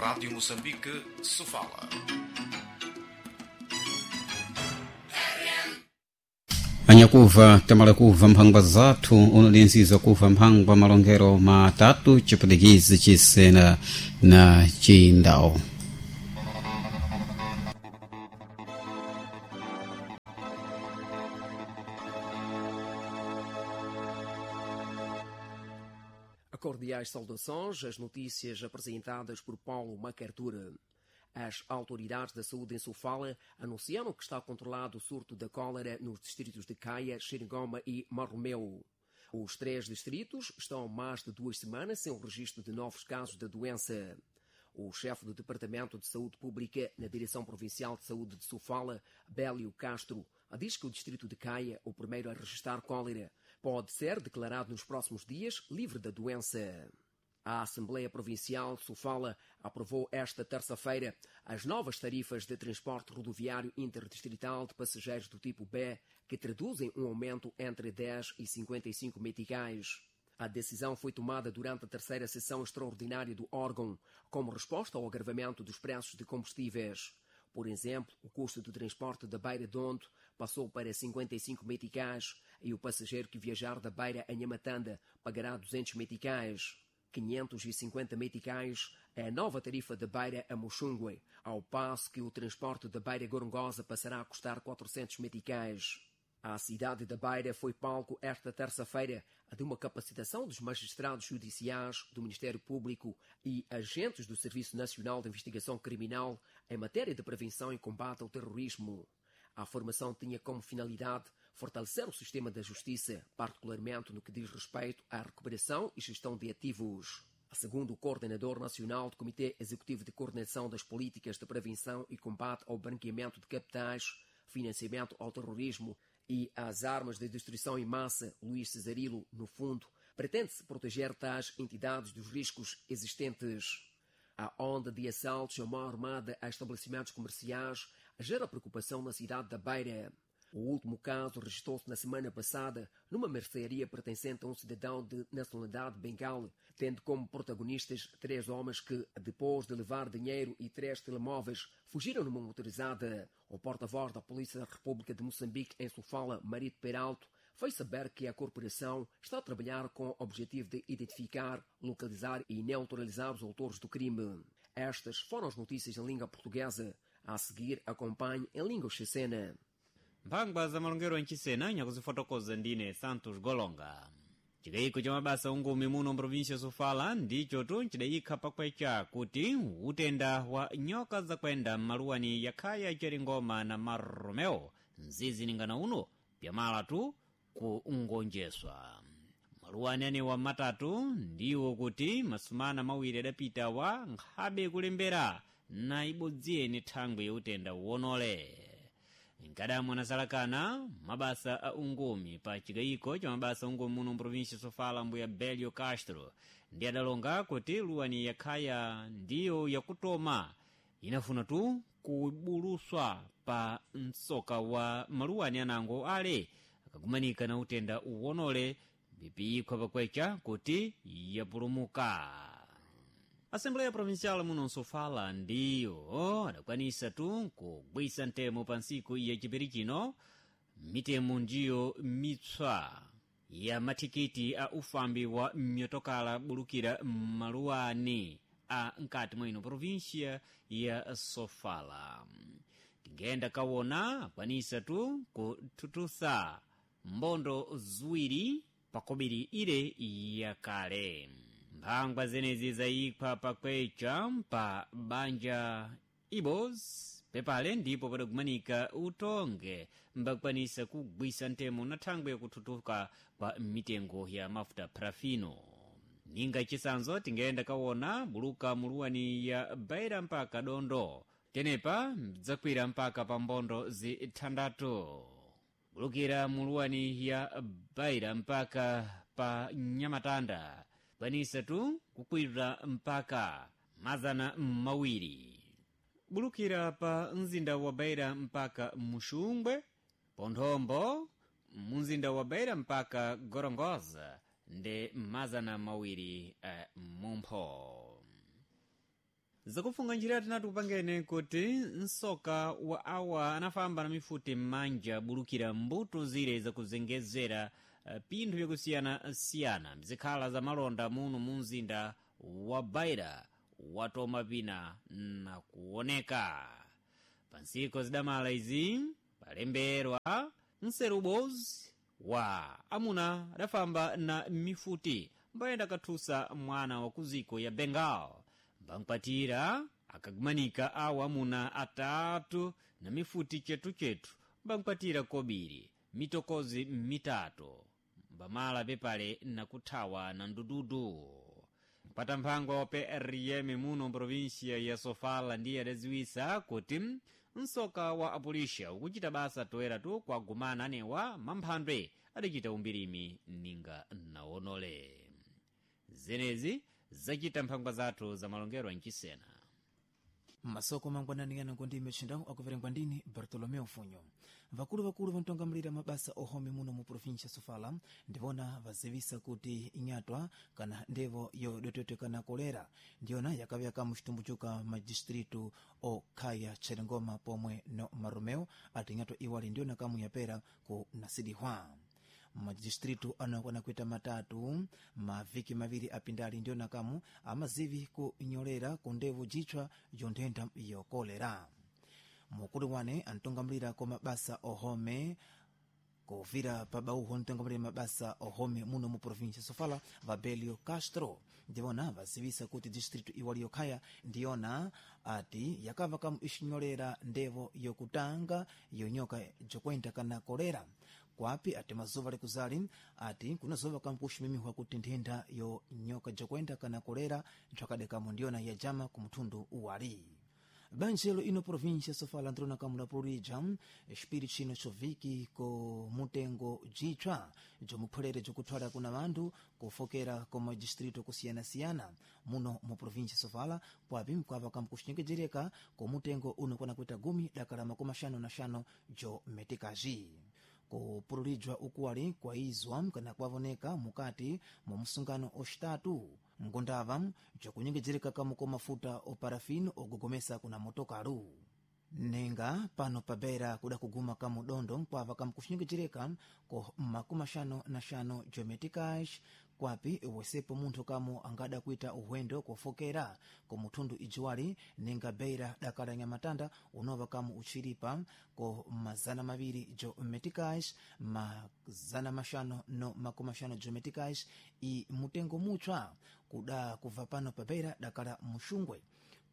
Rádio Moçambique, Sofala. Anyakuva tamala kuva mphangwa zathu unolinziza kuva mphangwa malongero matatu chipulikizi chisena na chindawo. Cordiais saudações, as notícias apresentadas por Paulo Macartura. As autoridades da saúde em Sofala anunciaram que está controlado o surto da cólera nos distritos de Caia, Xerigoma e Marromeu. Os três distritos estão há mais de 2 semanas sem o registro de novos casos da doença. O chefe do Departamento de Saúde Pública na Direção Provincial de Saúde de Sofala, Bélio Castro, diz que o distrito de Caia, o primeiro a registrar cólera, pode ser declarado nos próximos dias livre da doença. A Assembleia Provincial de Sofala aprovou esta terça-feira as novas tarifas de transporte rodoviário interdistrital de passageiros do tipo B, que traduzem um aumento entre 10 e 55 meticais. A decisão foi tomada durante a terceira sessão extraordinária do órgão, como resposta ao agravamento dos preços de combustíveis. Por exemplo, o custo do transporte da Beira Dondo passou para 55 meticais e o passageiro que viajar da Beira a Nhamatanda pagará 200 meticais. 550 meticais é a nova tarifa da Beira a Moxungue, ao passo que o transporte da Beira Gorongosa passará a custar 400 meticais. A cidade da Beira foi palco esta terça-feira de uma capacitação dos magistrados judiciais do Ministério Público e agentes do Serviço Nacional de Investigação Criminal em matéria de prevenção e combate ao terrorismo. A formação tinha como finalidade fortalecer o sistema da justiça, particularmente no que diz respeito à recuperação e gestão de ativos. Segundo o coordenador nacional do Comitê Executivo de Coordenação das Políticas de Prevenção e Combate ao Branqueamento de Capitais, Financiamento ao Terrorismo e às Armas de Destruição em Massa, Luís Cesarilo, no fundo, pretende-se proteger tais entidades dos riscos existentes. A onda de assaltos à mão armada a estabelecimentos comerciais gera preocupação na cidade da Beira. O último caso registrou-se na semana passada numa mercearia pertencente a um cidadão de nacionalidade bengal, tendo como protagonistas três homens que, depois de levar dinheiro e três telemóveis, fugiram numa motorizada. O porta-voz da Polícia da República de Moçambique em Sofala, Marito Peralto, fez saber que a corporação está a trabalhar com o objetivo de identificar, localizar e neutralizar os autores do crime. Estas foram as notícias em língua portuguesa. A seguir, acompanhe em língua chechena. Mphangwa za malongero anchisena nyakuzifotokoza ndine Santos Golonga. Chikayiko cha mabasa ungumi muno mprovinsia Sofala ndicho tu ncidayikha pakwecha kuti utenda wa nyoka zakwenda m'maluwani yakhaya Cheringoma na Marromeo mzizi ningana uno pyamala tu ku ngonjeswa. Maluwani anewa matatu ndiwo kuti masumana mawiri adapita wa nkhabe kulembera na ibodziyeni thangwi yautenda uwonole. Nkadamu anasalakana mabasa a ungumi pa chikayiko cha mabasa ungumi muno mprovinsia Sofala mbuya Belio Castro ndi adalonga kuti luwani yakhaya ndiyo yakutoma inafuna tu kubuluswa pa msoka wa maluwani anango ale akakumanika na utenda uwonole bipiyikho pakwecha kuti yapulumuka. Assembleia Provincial muno Sofala ndiyo adakwanisa tu kugwisa ntemo pa ntsiku ya chipiri chino mitemo ndiyo mitswa ya mathikiti a ufambi wa myotokala bulukira m'maluwani a nkati mwa ino província ya Sofala. Tingenda kawona akwanisa tu kuthuthutsa mbondo ziwiri pakobiri ile yakale. Mphangwa zenezi zayikha pakwecha pa banja Ibos pepale ndipo padakumanika utonge mbakwanisa kugwisa ntemo na thangwi yakuthuthuka kwa mitengo ya mafuta parafino. Ninga chisanzo tingenda kawona buluka muluwani ya Beira mpaka Dondo tenepa mdzakwira mpaka pa mbondo zithandathu bulukira muluwani ya Beira mpaka pa Nyamatanda kwanisa tu kukwira mpaka 200. Bulukira pa mzinda wa Beira mpaka Muxungwe, Ponthombo, mumzinda wa Beira mpaka Gorongosa ndi 200 mumpho. Zakufunga njira tinati kupangene kuti msoka wa awa anafamba na mifuti m'manja bulukira mbuto zire zakuzengezera pinthu vyakusiyanasiyana mzikhala za malonda muno mu mzinda wa Beira watoma pina na kuoneka. Pansiko zidamala izi palemberwa nserubozi wa amuna adafamba na mifuti mbayenda kathusa mwana wa kuziko ya Bengal mbankwatira akagumanika awo amuna atatu na mifuti chetuchetu mbankwatira kobiri mitokozi mitatu mbamala pepale nakuthawa na ndududu. Mpata mphangwa wa PRM muno mprovinsia ya Sofala ndiye adaziwisa kuti msoka wa apulisha ukuchita basa toeratu kwagumana anewa mamphandwe adachita umbirimi ninga naonole. Zenezi zachita mphangwa zathu za malongero anchisena. Masoko mangwanani ngo ndime chindawu akuverengwa ndini Bartolomeu Funyo. Vakulu vantongamulira mabasa ohome muno mu provincia Sofala ndivona vazivisa kuti inyatwa kana ndevo yodototeka kolera ndiyona yakaveka muchitumbu chuka madistritu okhaya Tcherengoma pomwe no Maromeo ati inyatwa iwali ndiyona kamu yapera ku nasidihwa. Madistritu anakwana kuita matatu maviki maviri apindali ndiyona kamu amazivi kunyolera ku ndevu jitchwa yonthenda yokolera. Mukulu wane antongamulira ko mabasa ohome kuvira pabauho ntongamulira mabasa ohome muno mu provincia Sofala Vabelio Castro ndivona vazivisa kuti distritu iwali yokhaya ndiyona ati yakava kamu ixinyolera ndevo yokutanga yonyoka jokwenda kana kolera. Kwapi ati mazuva likuzali ati kunazova kampuximimihwa kuti nthenda yo nyoka jokwenda kana kolera nthwakadekamo ndiyona yajama ku muthundu uwali. Banjelo ino provincia Sofala ntrona kamula pululija xipiri chino choviki ko mutengo jitshwa jomupholere jokuthwala kuna vanthu kufokera ko madistrito kusiyanasiyana muno mu provincia Sofala kwapi mkwava kamkuxinyengejereka ko mutengo unokwana kuita gumi dakala 55 jo metikazi. Kupululijwa ukuwali kwaizwa kana kwavoneka mukati mwa msungano oxitatu ngondava jokunyengejereka kamu ko mafuta oparafini ogogomesa kuna motokalu. Nenga pano pabera kuda kuguma kamudondo nkwava kamkuxinyengejereka ko 55 jometikash kwapi wesepo munthu kamu angada kuita uhwendo kofokera ko muthundu ijiwali ninga beira dakala nyamatanda unova kamu uchilipa ko 200 jo metikash 550 jo metikash i mutengo mutshwa kuda kubva pano pa beira dakala muxungwe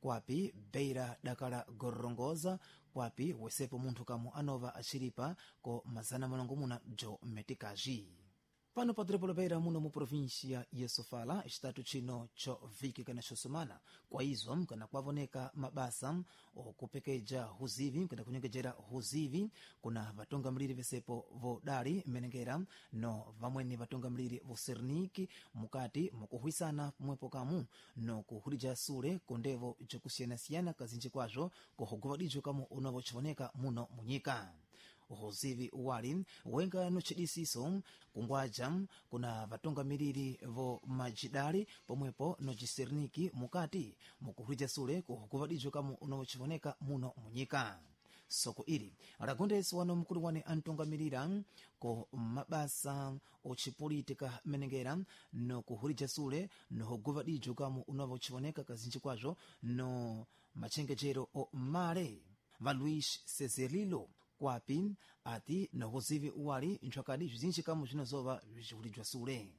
kwapi beira dakala gorongoza kwapi wesepo munthu kamu anova achilipa ko 600 jo metikaji. Pano pa doropo la muno mu província ya Sofala xitatu chino cho viki kana xosomana kwaizwa kana kwavoneka mabasa okupekeja huzivi kana kunyengejera huzivi kuna vatungamiliri vesepo vodali menengera no vamweni vatungamiliri voserniki mukati mukuhwisana pomwepo kamu no kuhulija sule kundevo jokusiyanasiyana kazinji kwazvo kuhuguvadijo kamu unavochivoneka muno munyika. Uzivi uwali wenga nochidisiso kungwaja kuna vatungamiriri vo majidali pomwepo nociserniki mukati mukuhwija sule kuhukuvadijo kamu unochivoneka muno munyika. Soko ili lagondesi wano mkulu wane antungamirira ko mabasa ochipolitika menengera nokuhulija sule nohuguvadijo kamu unovochivoneka kazinji kwazvo no machengejero o male va Luis Cezerlilo kwapi ati nokuzivi uwali nthwakadi bzinji kamu bzinozova bzicihulijwa sule.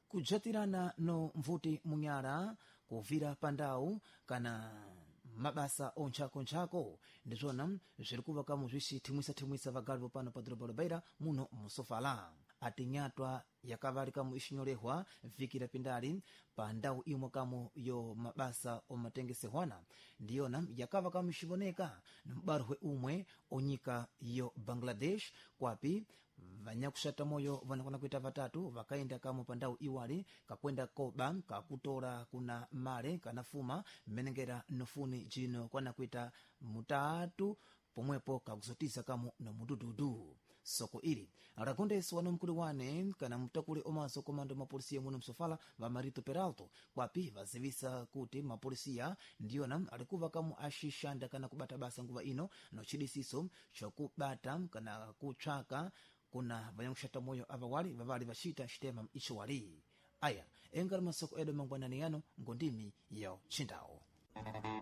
Kujatirana no mvuti munyala kuvira pandau kana mabasa ontchakontchako ndizvona zviri kuva kamu zvicithimwisa-thimwisa vagalivo pano pa doroba la Beira muno musofala. Ati nyatwa yakavali kamu ixinyolehwa viki lapindali pa ndau imwe kamu yo mabasa omatengesehwana ndiyona yakava kamu ixivoneka nombarwe umwe onyika yo Bangladesh kwapi vanyakuxata moyo vanakwana kuita vatatu vakaenda kamu pa ndau iwali kakwenda koba kakutola kuna male kana fuma mmenengera nofuni jino kwana kuita mutatu pomwepo kakuzotiza kamu nomudududu. Soko ili rakondeswa na mkulu wane kana mtakuli omaso komando mapolisiya muno msofala va Marito Peralto, kwapi vazivisa kuti mapolisiya ndiyona alikuva kamu axixanda kana kubata basa nguva ino nochidisiso chokubata kana kutsvaka kuna vanyakuxata moyo avawali vavali vaxita xitema icho wali. Aya engari masoko edu mangwanani yano ngondimi ya chindawo.